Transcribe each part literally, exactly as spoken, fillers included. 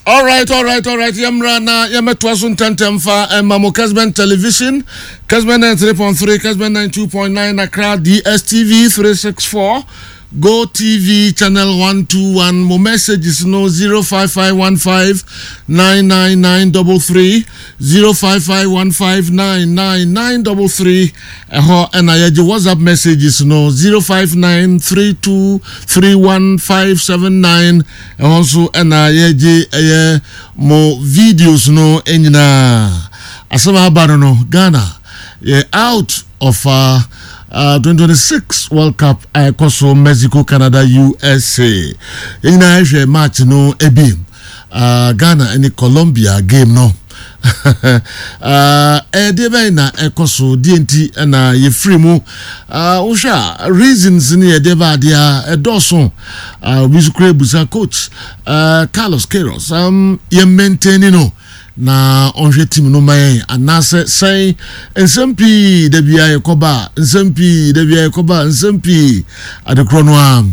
Alright, alright, alright. Yɛmmra na yɛmmɛtoa so ntɛntɛm fa ɛma mo Kesben Television, Kesben ninety-three point three, Kesben ninety-two point nine Accra, D S T V three six four, Go T V channel one two one. Mo messages no zero five five one five nine nine nine three three, zero five five one five nine nine nine three three. Ɛhɔ ɛna yɛgye WhatsApp messages no zero five nine three two three one five seven nine. Ɛhɔ nso ɛna yɛgye ɛyɛ mo videos no nyinaa. Asɛm aba no no Ghana yɛ out of uh, uh, twenty twenty-six World Cup a ɛkɔ so Mexico, Canada, U S A. Yɛn nyinaa hwɛ match no ebi, uh, Ghana ne Colombia game no. Ɛdeɛ bɛyɛ na ɛkɔ so deɛ nti ɛna yɛfiri mu. Wohwɛ a, reasons ne yɛdeɛ ba adeɛ a ɛdɔɔso. Obi nso kura ebusa coach uh, Carlos Queiroz, um, yɛn maintain no na ɔnhwɛ team no ma yɛn anaasɛ sɛn? Nsɛm pii da bia yɛkɔba, nsɛm pii da bia yɛkɔba, nsɛm pii adekorɔ no a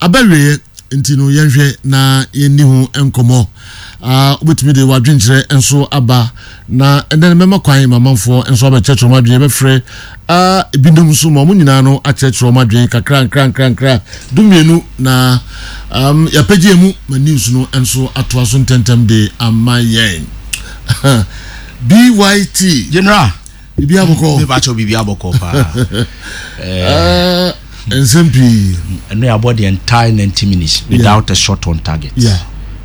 abɛwieɛ nti no, yɛnhwɛ na yɛnni ho nkɔmmɔ. Wobɛtumi de wadwenkyerɛ nso aba na ɛnɛ no mɛma kwan mamanfoɔ nso abɛkyerɛkyerɛ ɔmo adwene. Yɛbɛfrɛ ebinom nso ma ɔmo nyinaa no akyerɛkyerɛ ɔmo adwene kakra nkra nkra nkra dumienu na um, yɛapɛgye mu ma news no nso atoa so ntɛntɛm de ama yɛn. B Y T. General. Biribi abɔkɔ? Mebakyɛw, biribi abɔkɔ paa. Nsɛm pii. Ɛno yɛ abɔ the entire ninety minutes without yeah. a shot on target. Yeah.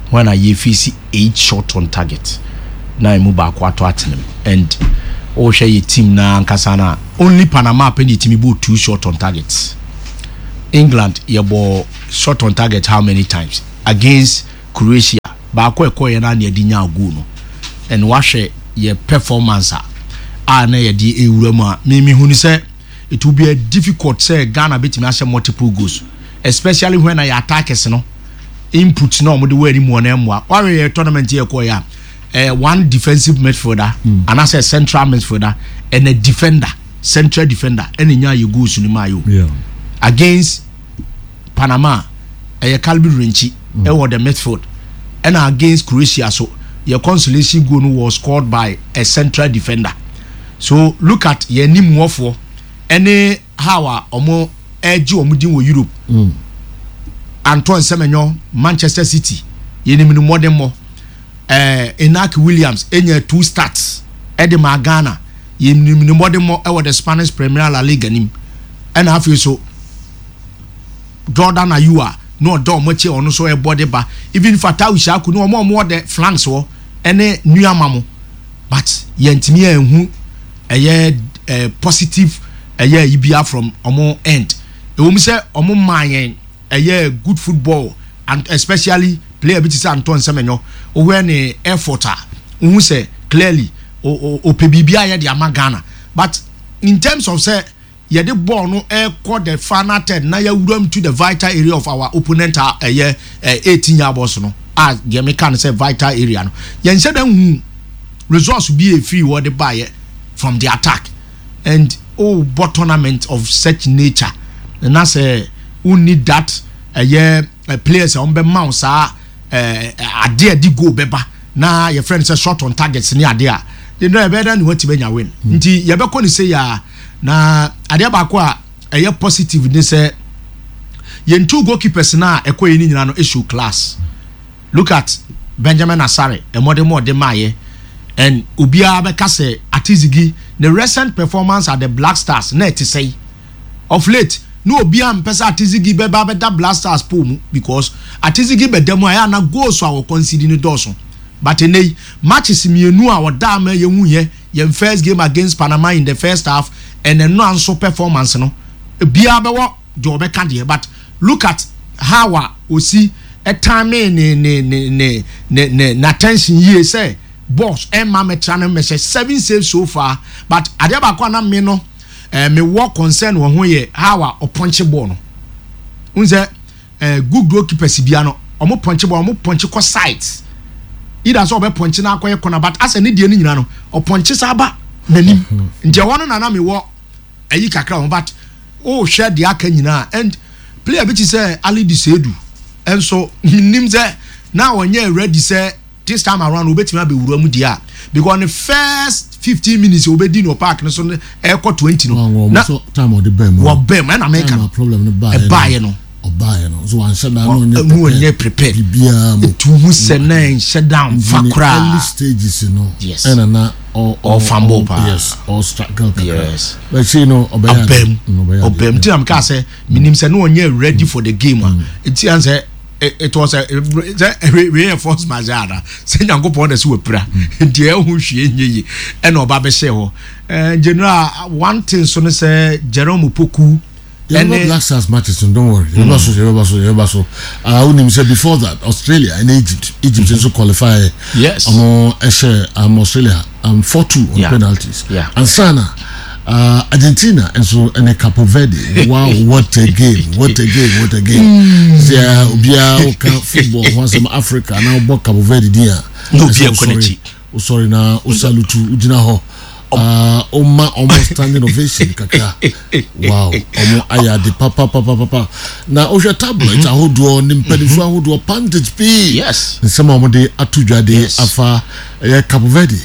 When a yɛfisi eight shot on target na emu baako ato atenem, and wohwɛ yɛ team na ankasa na only Panama pɛ ne yɛtumi bɔ two shot on target. England yɛbɔ shot on target how many times? Against Croatia, baako ɛkɔ yɛ na yɛde nya goal no. And wahwɛ yɛ performance a a na yɛde ewura mu a, mímí hu ni sɛ it will be a difficult sɛ Ghana bɛtumi ahyɛ multiple goals, especially when na yɛ attackers no input na wɔn de wɔ anim wɔ na ɛmoa. Wahwɛ yɛ tournament yɛ kɔ yɛ a, eh, one defensive midfielder mm. anaasɛ central midfielder and a defender, central defender, ɛna nya yɛ goals no mu ayɛ o. Against Panama, ɛyɛ Calvin Yirenkyi ɛwɔ the midfield, ɛna against Croatia so, yɛ consolation goal no was scored by a central defender. So look at yɛn anim wɔfoɔ ɛne how a wɔn ɛgye wɔn din wɔ Europe. mm. Antoine Semenyo, Manchester City, yɛnim no mmɔden. ɛɛ Inaki Williams enya two starts ɛde ma Ghana, yɛnim no mmɔden ɛwɔ the Spanish Premier La Liga nim. Ɛna afei so Jordan Ayew a na ɔda ɔmo akyi, ɔno nso ɛbɔ de ba. Even Fatawu Issahaku ne ɔmo a ɔmo wɔ the flanks hɔ ɛne Nuamah mo, but yɛntumi ɛnhu ɛyɛ ɛɛ positive ɛyɛ ibia from ɔmo end. Ɛwɔ mu sɛ ɔmo maa yɛn ɛyɛ good football, and especially player bi ti sɛ Antoine Semenyo, owó ne effort a ohun sɛ clearly ɔpɛ biribi a yɛde ama Ghana. But in terms of sɛ yɛde ball no ɛkɔ the final third na yɛwura mu to the vital area of our opponent a ɛyɛ eighteen yard box no a, deɛ meka no sɛ vital area no, yɛnhyɛ dɛ hu results bi efiri wɔ de baayɛ from the attack. And o bɔ tournament of such nature na sɛ o need that ɛyɛ players a wɔn bɛ ma wo saa ɛɛ adeɛ a di goal bɛba na yɛfrɛ no sɛ shot on targets ne adeɛ a de no ɛbɛyɛ dɛ ne wɔti bɛnya win. Nti yɛbɛkɔ ne se ya na adeɛ baako a ɛyɛ positive ne sɛ yɛn two goalkeepers na ɛkɔ yɛn nyinaa no issue class. Look at Benjamin Asare, ɛmɔden mu ɔde maayɛ, and obiara bɛka sɛ Atizigi ne recent performance at the Black Stars na ɛte sɛyi. Of late na obiara mpɛ sɛ Atizigi bɛba bɛda Black Stars pole mu, because Atizigi bɛda mu a, ɛyɛ ana goals a wɔconcede ne dɔɔso. But ɛnɛ yi, matches mmienu a ɔda ama yɛn hu yɛ yɛn first game against Panama in the first half and ɛno nso performance no, biara bɛwɔ deɛ ɔbɛka deɛ, but look at how a osi ɛtime ne ne ne ne ne ne n'attention yie sɛ boss ɛma mɛtra no mɛhyɛ seven saves so far. But adeɛ baako a na me no ɛɛ me wɔ concern wɔ ho yɛ how a ɔpɔnkye ball no n sɛ ɛɛ good goalkeepers bia no, ɔmo pɔnkye ball, ɔmo pɔnkye kɔ sides, either sɛ ɔbɛ pɔnkye na akɔyɛ corner, but asɛ ne deɛ no nyinaa no ɔpɔnkye saa ba n'anim. Nti ɛhɔ no nana mi wɔ ɛyi kakra ho, but ɔɔhwɛ deɛ aka nyinaa, and player bi ti sɛ Alidu Seidu ɛnso nim sɛ na ɔnyɛ ready sɛ This time around obetumi abɛwura mu deɛ a, because the first fifteen minutes obedi no park no so no, ɛkɔ twenty no na time ɔde bɛn mu. Wɔ bɛn mu ɛna mɛka no problem no baayɛ. Ɛbaayɛ no. Ɔbaayɛ no so wanhyɛ da no. Ɔnyɛ ɔnyɛ prepared. Biribiara mu. Etu hu sɛ na nhyɛ down fa koraa. Early stages no. Yes. Ɛna na ɔ ɔfambo paa. Yes, ɔ struggle kakra. Yes. Bɛkyi no ɔbɛyɛ. Ɔbɛm ɔbɛm tí na mi kaa sɛ minim sɛ no ɔnyɛ ready for the game a eti an sɛ it was a sɛ wei yɛ force majeure ana sɛ Nyankopɔn na sɛ wapira nti ɛho hwie nye yi ɛna ɔba bɛhyɛ hɔ. Ɛɛ general, one thing so no sɛ Jerome Opoku. Ɛne Black Stars matches no, don't worry, yɛbɛba so, yɛbɛba so, yɛbɛba so. uh, wonim sɛ before that, Australia and Egypt, Egypt nso qualify. Yes. Ɔmo ɛhyɛ um, Australia um, four two on Yeah. penalties. Yeah. Ansana uh, Argentina nso ɛne Capo Verde. Wow, what a game, what a game, what a game! Sɛ obiara woka football ho asɛm Africa na wobɔ Capo Verde din a, Na obi ɛsɛ akɔ wosɔre- n'akyi. Wosɔre na wosalutu, wogyina hɔ, uh, ɔma ɔmo standing ovation kakra. Wow, ɔmo ayɛ ade papapapapa. Na wohwɛ tabloids ahodoɔ ne mpanimfoɔ ahodoɔ, pundits pii, Yes. nsɛm a wɔde ato dwa de Yes. afa ɛyɛ Capo Verde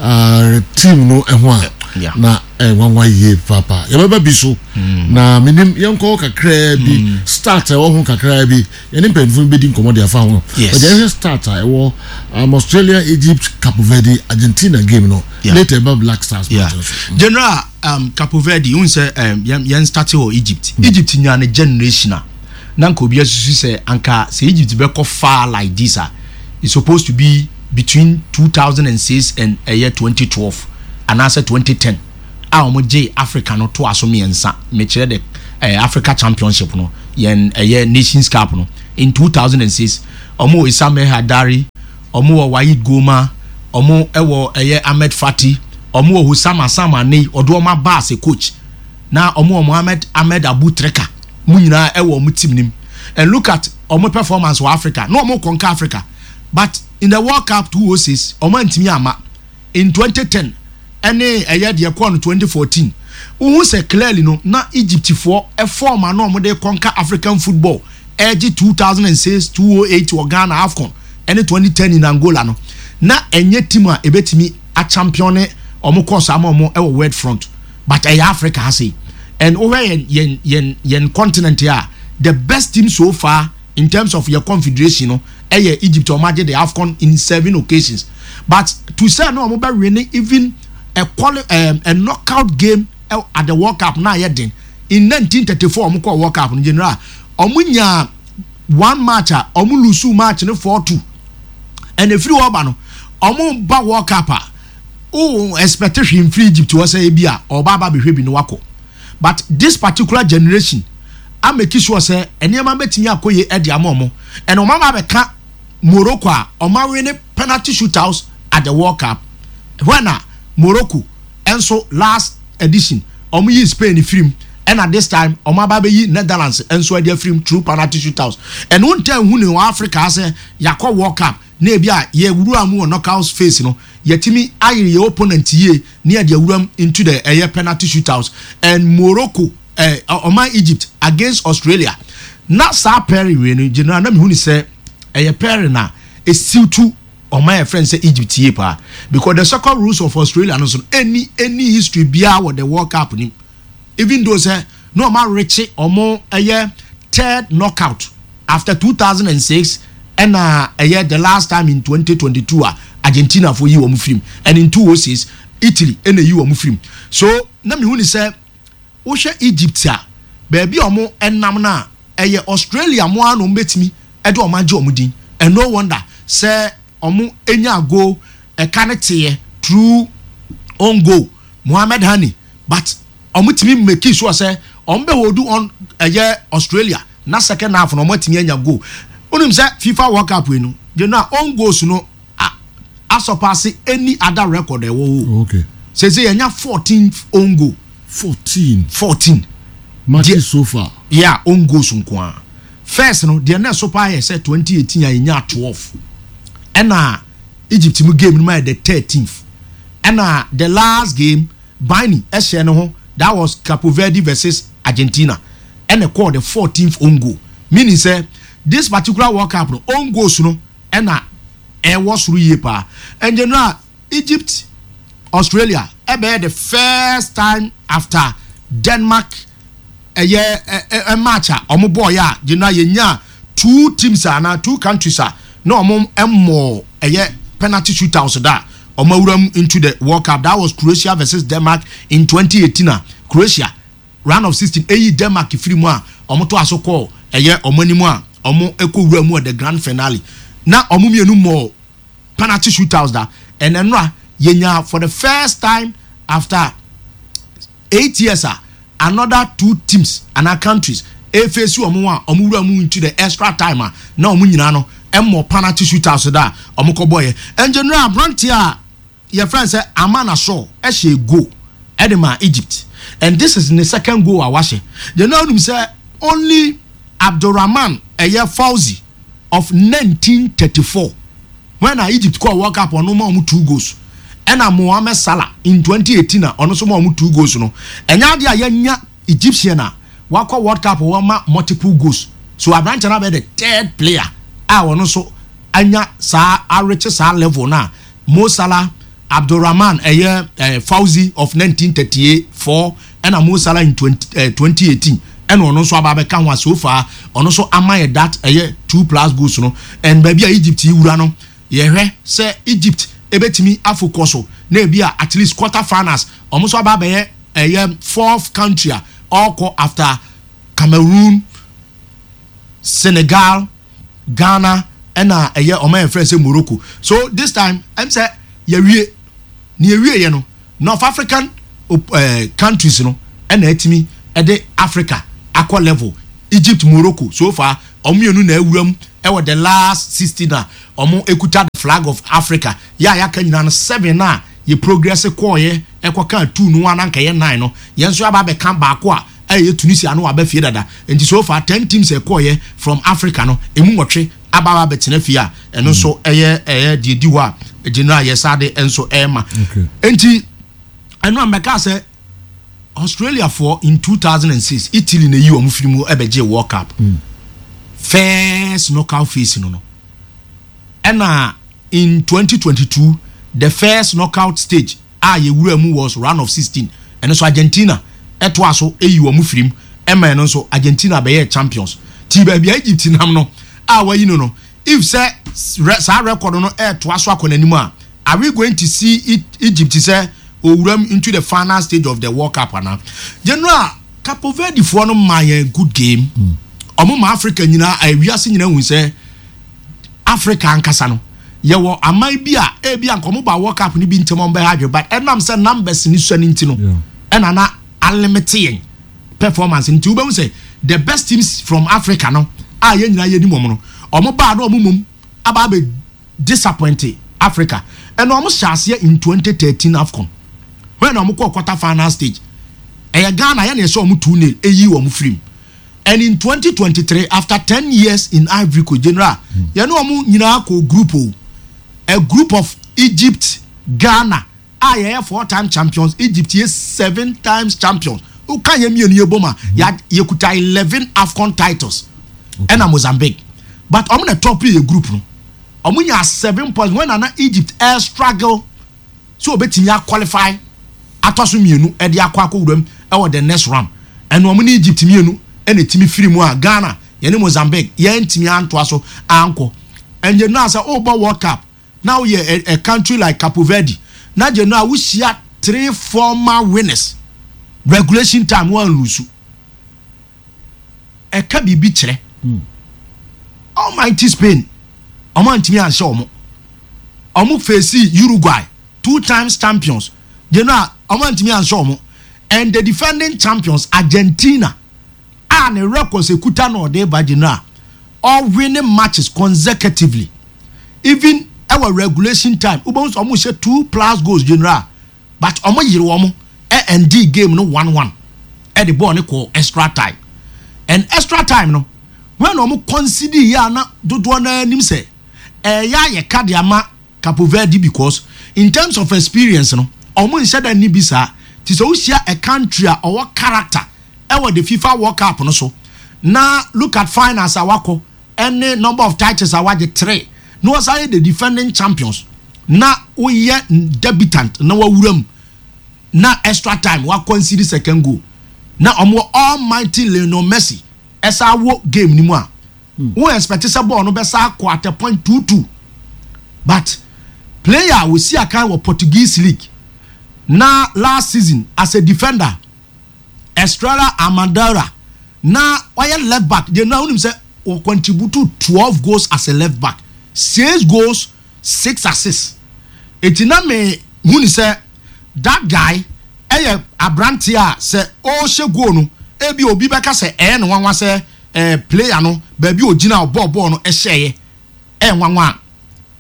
uh, team no ɛho a, Yeah. na ɛnwanwa yie papa. Yɛbɛba bi so na menim yɛnkɔ kakraa bi, start a ɛwɔ ho kakraa bi, yɛne mpanyinfoɔ no bɛdi nkɔmmɔ de afa ho. Yes. But yɛhwɛ start a ɛwɔ um, Australia, Egypt, Capo Verde, Argentina game no. Yeah. Later ɛba Black Stars yeah. match no so. General, um, Capo Verde n sɛ um, yɛn yɛn start wɔ Egypt. mm. Egypt nya ne generation a na nka obi asusu sɛ anka sɛ Egypt bɛkɔ far like this a, it's supposed to be between two thousand and six and ɛyɛ twenty twelve anaasɛ twenty ten a wɔn gye Africa no to aso mmiɛnsa. Mekyerɛ de eh, Africa Championship no, yɛn ɛyɛ Nations Cup no. In two thousand and six, wɔn wɔ Issam El Hadary, wɔn wɔ Waid Goma, wɔn wɔ ɛyɛ Ahmed Fathy, wɔn wɔ Hosam Hassan Ane, ɔde wɔn aba as a coach, na wɔn wɔ Mohamed Ahmed Abu Treka mu nyinaa ɛwɔ wɔn team nim. And look at wɔn performance wɔ Africa na wɔn conquer Africa. But in the World Cup two thousand six, wɔn antumi ama. In twenty ten ɛne ɛyɛ deɛ kɔɔ no twenty fourteen, wohu sɛ clearly no na Egyptfoɔ ɛform a na wɔn de conquer African football, ɛgye two thousand and six, two thousand eight wɔ Ghana AFCON ɛne twenty ten in Angola no, na ɛnyɛ team a ebetumi achampion ne wɔn kɔɔ so ama wɔn ɛwɔ world front. But ɛyɛ Africa ha sei and wohwɛ yɛn yɛn yɛn yɛn continent a, the best team so far in terms of your confederation no ɛyɛ Egypt. Wɔn agye the AFCON in seven occasions, but to say no wɔn bɛ win even a quali um, a knockout game uh, at the World Cup na ayɛ den. In nineteen thirty-four wɔn kɔ World Cup no, general, wɔn nya one match a wɔn lose match no four two, ɛna efiri hɔ ba no, wɔn ba World Cup a o expect hwee nfiri Egypt wɔ sɛ ebi a ɔba aba abɛhwɛ bi no wakɔ. But this particular generation a make sure sɛ nneɛma bɛtumi akɔ yie ɛde ama ɔmo, ɛna ɔmo aba abɛka Morocco a ɔmo awin penalty shootouts at the World Cup, when a Morocco ɛnso last edition ɔmo yi Spain firim, ɛna this time ɔmo aba abɛyi Netherlands ɛnso ɛde afirim through penalty shootouts. Ɛno ntɛn hu ne wɔ Africa sɛ yakɔ World Cup na ebi a yɛwura mu wɔ knockout phase no, yɛtumi ayere yɛ opponent yie ne yɛde awura mu into the ɛyɛ penalty shootouts. And Morocco, ɛɛ ɔman Egypt against Australia, na saa pairing wei no, general, na mihu ni sɛ ɛyɛ pairing na esiw ɔman yɛ friend sɛ Egypt yie paa, because the soccer rules of Australia no so no, any any history biara wɔ the World Cup nim, even though sɛ na ɔmo arekye ɔmo ɛyɛ third knockout after two thousand and six, ɛna ɛyɛ the last time in twenty twenty-two a Argentina fo yi wɔn firim, and in two thousand six Italy ɛna yi wɔn firim. So na mihu ni sɛ wohwɛ Egypt a, beebi a wɔn ɛnam na ɛyɛ Australia mo ara na wɔn bɛtumi ɛde wɔn agye wɔn din. And no wonder sɛ wɔn enya goal ɛka ne teɛ through own goal, Mohamed Hani, but wɔn tumi make sure sɛ wɔn bɛ hold on ɛyɛ Australia na second half na wɔn atumi anya goal. Onim sɛ FIFA World Cup yi no, you know own goals no a asurpass any other record ɛwɔ hɔ. Okay. Sese yɛnya fourteen own goal. Fourteen. Fourteen. Matches so far. Yeah, own goals nko a. First no deɛ na ɛso paa yɛ sɛ twenty eighteen a yɛnya twelve, ɛna Egypt mu game no ma yɛ the thirteenth, ɛna the last game Bani ɛhyɛ ne ho, that was Capo Verde versus Argentina, ɛna ɛkɔɔ the fourteenth own goal, meaning sɛ this particular World Cup no, own goals no ɛna Ɛwɔ soro yie paa. Ɛnjɛ no a Egypt Australia ɛbɛyɛ the first time after Denmark ɛyɛ ɛ ɛ match a ɔmo bɔɔ yɛ a gyina yɛnya two teams a anaa two countries a na ɔmo ɛmɔ ɛyɛ penalty shootouts da ɔmo awura mu into the World Cup. That was Croatia versus Denmark in twenty eighteen a Croatia round of sixteen eyi Denmark firi mu a ɔmo to aso kɔɔ ɛyɛ ɔmo anim a ɔmo ɛkɔ wura mu at the grand finale na ɔmo mmienu mɔ penalty shootouts da. Ɛnɛ no a yɛnya for the first time after eight years a another two teams ana countries efesi wɔn a wɔn wura mu into the extra time a na wɔn nyinaa no ɛmɔ penalty shootouts da a wɔn kɔ bɔ yɛ. Ɛngyɛnura aberanteɛ a yɛfrɛ sɛ Aman Asɔ ɛhyɛ goal ɛde ma Egypt, and this is the second goal a wahyɛ. Gyɛnura onim sɛ only Abdulrahman ɛyɛ Fauzi of nineteen thirty-four, when na Egypt kɔ World Cup, ɔno ma wɔn two goals, ɛna Mohammed Salah in twenty eighteen a ɔno nso ma wɔn two goals no. Ɛnyɛ adeɛ a yɛnya Egyptian a wakɔ World Cup wɔn ma multiple goals, so aberanteɛ no abɛyɛ the third player a ɔno nso anya saa arekye saa level na Mo Salah, Abdulrahman ɛyɛ ɛɛ Fauzi of nineteen thirty-four, ɛna Mo Salah in twenty ɛɛ twenty eighteen, ɛna ɔno nso aba abɛka ho a so far ɔno nso ama yɛ that ɛyɛ two plus goals no. And baabi a Egypt yi wura no, yɛhwɛ sɛ Egypt ebetumi afokɔ so na ebi a at least quarter finals, ɔmo nso aba abɛyɛ ɛyɛ fourth country a ɔkɔ after Cameroon, Senegal, Ghana, ɛna ɛyɛ ɔmo yɛ fɛ sɛ Morocco. So this time ɛm sɛ yɛwie ne yɛwie yɛ no, North African uh, countries no ɛna ɛtumi ɛde Africa akɔ level. Egypt, Morocco, so far ɔmo mmienu na awura mu ɛwɔ the last sixteen a ɔmo ekuta the flag of Africa. Yɛ a yɛaka nyinaa no, seven na yɛ progress kɔɔyɛ ɛkɔka two no ananka yɛ nine no, yɛn nso aba abɛka baako a ɛyɛ Tunisia no waba fie dada. Nti so far ten teams ɛkɔɔyɛ from Africa no, emu nwɔtwe aba aba abɛtena fie a ɛno nso ɛyɛ ɛyɛ deɛ di hɔ a general yɛ sade nso ɛɛma. Nti ɛno a mbɛka sɛ Australia foɔ in two thousand and six, Italy na eyi wɔn firi mu ɛbɛgye World Cup mm. first knockout phase no no ɛna in twenty twenty-two, the first knockout stage a yɛwura mu was round of sixteen. Ɛno nso Argentina ɛtoa so eyi wɔn firi mu ɛma ɛno nso Argentina bɛyɛ champions. Ti baabi a Egypt nam no a wɔyi no no if sɛ saa record no ɛɛtoa so akɔ n'anim a, are we going to see Egypt sɛ owuram into the final stage of the World Cup ana? General, Cape Verde foɔ no ma yɛn good game. Ɔmo ma Africa nyinaa, ewiase nyinaa hu sɛ Africa ankasa no yɛwɔ aman bi a ebi a nkɔmɔ ba World Cup ni bi ntɛm ɔmo bɛyɛ adwene, but ɛnam sɛ numbers ni sua ne nti no ɛna na alimit yɛn performance. Nti wobɛhu sɛ the best teams from Africa no a yɛn nyinaa yɛ nim wɔn no, ɔmo baa na ɔmo mom aba abɛ disappoint Africa. Ɛna ɔmo hyɛ aseɛ in twenty thirteen AFCON when ɔmo kɔ quarter final stage, ɛyɛ Ghana yɛn na ɛsɛ ɔmo two nil eyi wɔn firim. And in twenty twenty-three, after ten years in Ivory Coast, general, yɛn ne ɔmo nyinaa kɔ group o, a group of Egypt, Ghana a yɛyɛ four time champions, Egypt yɛ seven times champions. Woka yɛn mmienu yɛ bom a, yɛkuta eleven AFCON titles, ɛna Mozambique. But ɔmo na top yɛ group no, ɔmo nya seven points when nana Egypt air struggle so obetumi aqualify atɔ so mmienu ɛde akɔ akɔ wuram ɛwɔ the next round. Ɛna ɔmo ne Egypt mmienu ɛna etimi firi mu a Ghana yɛne Mozambique yɛn ntumi antoa so ankɔ. Ɛnyɛ no asɛ ɔrebɔ World Cup na woyɛ a, a country like Cape Verde na gye no a wohyia three former winners, regulation time wɔn lose, ɛka biribi kyerɛ. Almighty Spain, ɔmo antumi anhyɛ ɔmo. Ɔmo face Uruguay, two times champions, gye no a ɔmo antumi anhyɛ ɔmo. And the defending champions Argentina a ne records ekuta na ɔde ba, gye no a ɔwinning matches consecutively, even ɛwɔ regulation time wobɛhu sɛ ɔmo hyɛ two plus goals, general, but ɔmo yere wɔn ɛ end game no one one ɛde bɔɔl ne kɔ extra time. And extra time no, when ɔmo concede yɛ a na dodoɔ naa anim sɛ ɛyɛ ayɛ ka de ama Cape Verde, because in terms of experience no, ɔmo nhyɛ da ni bi saa. Ti sɛ wohyia a country a ɔwɔ character ɛwɔ the FIFA World Cup no so na look at finals a wakɔ, ɛne number of titles a wagye three, Na wɔsan yɛ the defending champions na woyɛ debutant na wawura mu na extra time wa concede second goal na ɔmo almighty Lionel Messi ɛsa wɔ game ni mu a, wo expect sɛ bɔɔl no bɛsa akɔ at a point two two. But player a wosi akan wɔ Portuguese league na last season as a defender, Estrela Amadora, na ɔyɛ left back deɛ, na wonim sɛ wɔ contribute twelve goals as a left back, six goals, six assists. Eti na me hu ni sɛ that guy ɛyɛ aberanteɛ a sɛ ɔrehyɛ goal no, ebi obi bɛka sɛ ɛyɛ ne nwanwa sɛ ɛɛ player no baabi ogyina ɔbɔɔ bɔɔl no ɛhyɛɛ ɛyɛ nwanwa a,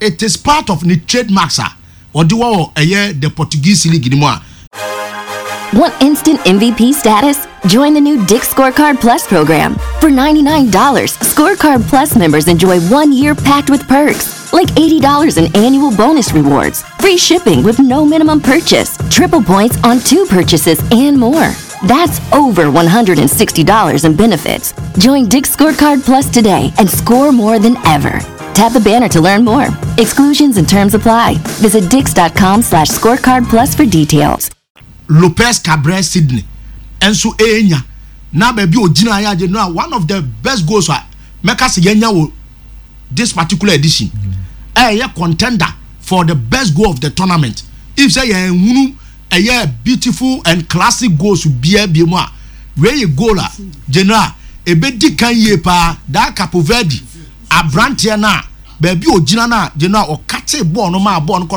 it is part of ne trademarks a ɔde wɔ ɛyɛ the Portuguese league ni mu a. Want instant M V P status? Join the new Dick's Scorecard Plus program. For ninety-nine dollars Scorecard Plus members enjoy one year packed with perks, like eighty dollars in annual bonus rewards, free shipping with no minimum purchase, triple points on two purchases, and more. That's over one hundred sixty dollars in benefits. Join Dick's Scorecard Plus today and score more than ever. Tap the banner to learn more. Exclusions and terms apply. Visit dicks dot com slash scorecard plus for details. Lopez Cabrera Sydney nso enya na baabi ogyina ayɛ agye no a, one of the best goals a mɛka sɛ yɛnya wɔ this particular edition, ɛyɛ contender for the best goal of the tournament. If sɛ yɛn hunu ɛyɛ beautiful and classic goals bia bia mu a, wei yɛ goal a general ebedi kan yie paa. Daa Capo Verde aberanteɛ no a baabi ogyina no a, general ɔkate bɔɔl no maa bɔɔl no kɔ.